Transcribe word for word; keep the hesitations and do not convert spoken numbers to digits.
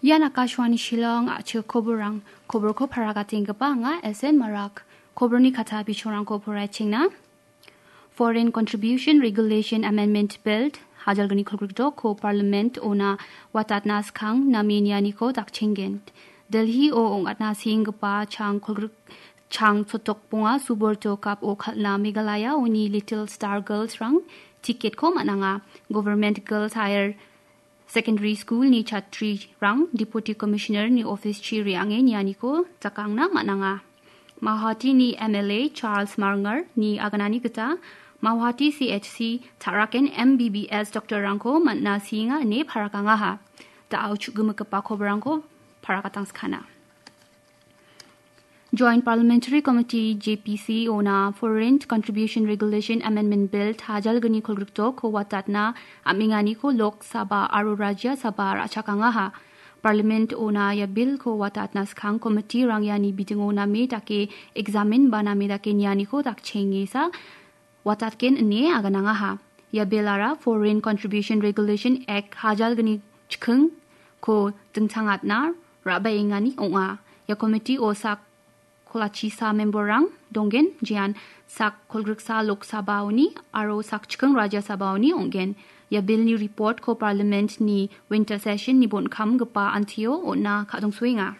Ian Akashvani Shillong a·chik koborrang. Koborko paragatengipa anga S N Marak. Koborni kata bichongrangko poraichengna. Foreign Contribution Regulation Amendment Bill hajalgni kolgrikdokko Parliament ona watatna skang name nianiko dakchenggen. Delhi o ong·atna senggipa chang kolgrik chang sotok bonga suborto kap o kal·na Meghalaya oni Little Star Girls rang ticket ko man·anga. Government Girls Higher Secondary School ni chatrirang Deputy Commissioner ni office chi re·ange nianiko jakangna man·anga. Mawhati ni M L A Charles Marngar ni aganani gita Mawhati C H C taraken M B B S doctor rangko man·na sienga ine parakangaha. Da·ao chu·gimigipa koborrangko parakatangskana. Joint Parliamentary Committee, J P C, ona Foreign Contribution Regulation Amendment Bill tajalgni kolgrikdokko watatna am·enganiko Lok Sabha aro Rajya Sabha ra·chakangaha. Parliament ona ia bill-ko watatna skang committee-rang iani bidingo name dake examine ba name dake nianiko dakchengesa watatgen ine aganangaha. Ia bill-ara Foreign Contribution Regulation Act hajalgni chikingko dingtangatna ra·baengani ong·a. Ia committee-o sak kolachisa member-rang donggen, jean sak kolgriksa Lok Sabha-oni aro sak chiking Rajya Sabha-oni ong·gen. Ia bill-ni report-ko Parliament-ni winter session-ni bon·kamgipa antio on·na ka·dongsoenga.